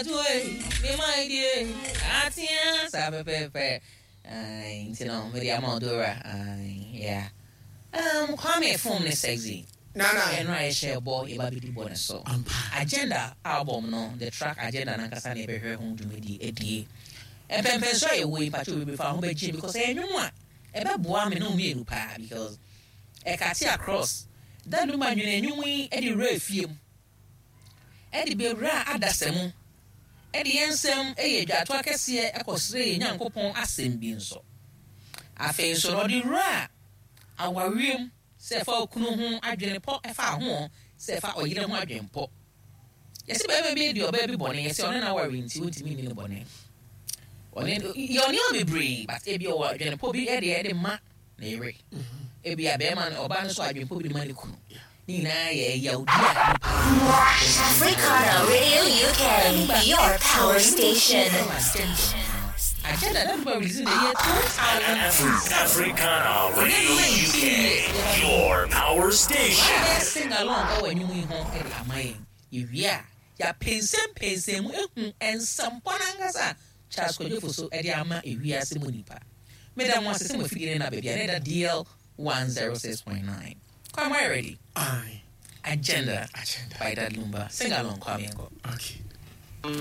Atu me my dear, atia saa pɛpɛɛpɛ. Aye, nti no mede ama wo Dora. Aye, yeah. Kwame phone ne sexy. Nana. Ɛno a yɛhyɛ bɔ yɛba bɛdi bɔ ne so. Ampa. Agenda album no, the track Agenda nankasa na yɛbɛhwɛ ho dwumadi adie. Mpɛmpɛnso a yɛwɔ yi, mpakyɛ bebree fa ho bɛgye because ɛyɛ nnwom a ɛbɛboa me ne wo mmienu paa because ɛcut across. Da no ma nwene nnwom yi de wura fie mu, ɛde bɛwura adasa mu, ɛde yɛn nsɛm yɛ dwato akɛseɛ ɛkɔsrɛ yɛn Nyankopɔn asɛm bi nso. Afei nso no, ɔde wura awareɛ mu sɛ ɛfa okunu ho adwene pɔ, ɛfa ho sɛ ɛfa ɔyere ho adwene pɔ. Yɛsɛ bɛrima bi di ɔbaa bi bɔne, yɛsɛ ɔne n'aware nti wontumi nni ne bɔne. Ɔne yɛ ɔne bebree, but ebi ɔwɔ adwene pɔ bi ɛde ma ne yere. Ebi a bɛrima no, ɔbaa no so adwene pɔ bi de ma ne kunu. Ne nyinaa yɛ yawdi a nipa. Africana Radio UK, your power station. Agenda that people released in the year 2007. Africana Radio UK, your power station. Wɔayɛ sing along ɛwɔ anim yi ho ɛde ama yɛn. Yɛwie a, yɛapɛnsɛmpɛnsɛn mu ehu nsɛmpɔ n'ankasa Charles Kwadwo Fosu ɛde ama ewiase mu nipa. Meda mo ase sɛ mo afidie ne na baabi a ne da DL 106.9. Kwame, are you ready? Aye. Agenda Agenda. by Dad Lumba. Sing along, Kwame Ngo. Okay.